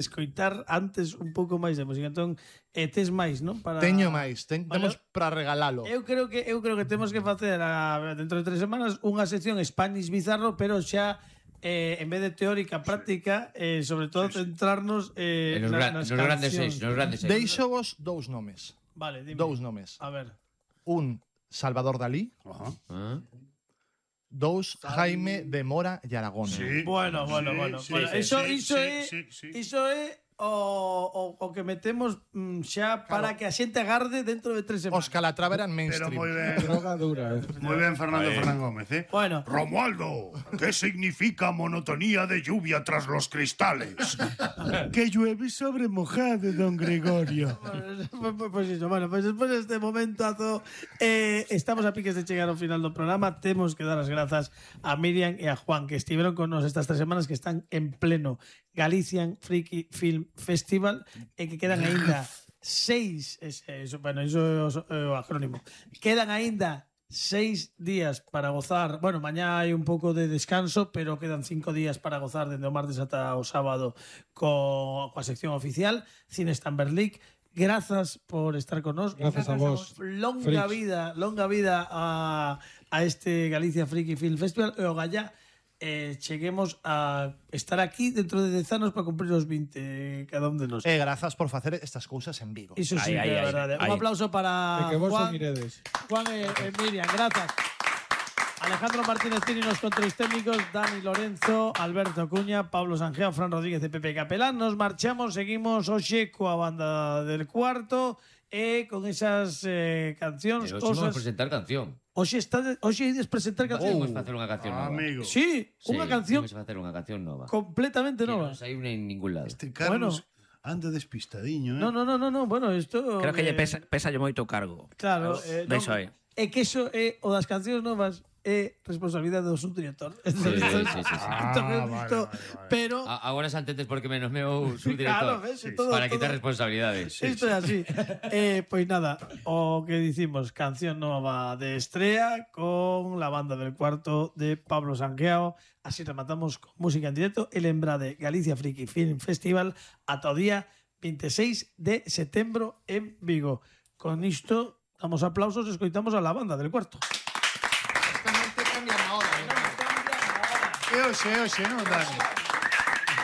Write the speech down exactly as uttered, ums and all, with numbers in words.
escoitar antes un pouco máis de música. Entón, eh, tes máis, non? Para... Teño máis, ten, Vale. temos para regalalo. Eu creo que eu creo que temos que facer a, dentro de tres semanas unha sección Spanish Bizarro, pero xa eh, en vez de teórica, práctica, eh, sobre todo Sí, sí. centrarnos eh, En los, na, gran, nas nos grandes cancións. seis, nos grandes seis. Deixo vos dous nomes. Vale, dime. Dous nomes. A ver. Un, Salvador Dalí. Ajá. Ah. Dous, Jaime de Mora e Aragón. Sí. Bueno, bueno, Sí, bueno. sí, bueno sí, iso sí, iso sí, é sí, sí. iso é o, o, o que metemos mm, xa para que a xente agarde dentro de tres semanas. Os Calatrava eran Pero mainstream. muy bien. Droga dura, eh. Muy bien, Fernando Fernán Gómez, ¿eh? Bueno. Romualdo, ¿qué significa monotonía de lluvia tras los cristales? Que llueve sobre mojado, don Gregorio. Pues, pues, pues iso, bueno, pues despois deste momentazo eh, estamos a piques de chegar ao final do programa. Temos que dar as grazas a Miriam e a Juan, que estiveron con nos estas tres semanas, que están en pleno Galician Freaky Film Festival e que quedan aínda seis ese, eso, bueno, iso é o acrónimo, quedan aínda seis días para gozar. Bueno, mañá hai un pouco de descanso, pero quedan cinco días para gozar dende o martes ata o sábado co, coa sección oficial Cine Stamber League. Grazas por estar con nos. Grazas a vos, Longa freaks. vida, longa vida a, a este Galicia Freaky Film Festival e o Gallá eh, cheguemos a estar aquí dentro de dez anos para cumprir os vinte cada un de nós. E grazas por facer estas cousas en Vigo. Iso sí, Ai, que ai, é ai, verdade. ai. Un aplauso para De que vos Juan, o miredes. Juan e, e Miriam, grazas. Alejandro Martínez Tini nos controles técnicos, Dani Lorenzo, Alberto Cuña, Pablo Sanjeo, Fran Rodríguez e Pepe Capelán. Nos marchamos, seguimos hoxe coa banda del cuarto e con esas eh, cancións, Pero hoxe vamos a cosas. presentar canción. Hoxe está de, hoxe ides presentar cancións. Vamos a facer unha canción nova. Amigo. Sí, Sí, unha canción Vamos a facer unha canción nova. completamente Que nova. non saiu en ningún lado. Este Carlos anda despistadiño, ¿eh? No, no, no, no, no, bueno, isto Creo que eh, lle pesa, pesa lle moito cargo. Claro, eh, De iso é. É que iso é o das cancións novas é responsabilidade do subdirector. Sí, sí, sí, sí, sí. Ah, vale, vale, vale. Pero A- Agora xa entendes por que menos meu Claro, subdirector. ves, todo- para quitar todo- responsabilidades. isto é así. eh, pois nada, o que dicimos, canción nova de estrella con la banda del cuarto de Pablo Sanqueao. Así rematamos con música en directo. El Embrade Galicia Freaky Film Festival ata o día veintiséis de setembro en Vigo. Con isto damos aplausos e escoitamos a la banda del cuarto. Esta noite cambian a hora. E hoxe, e hoxe, non, Dani?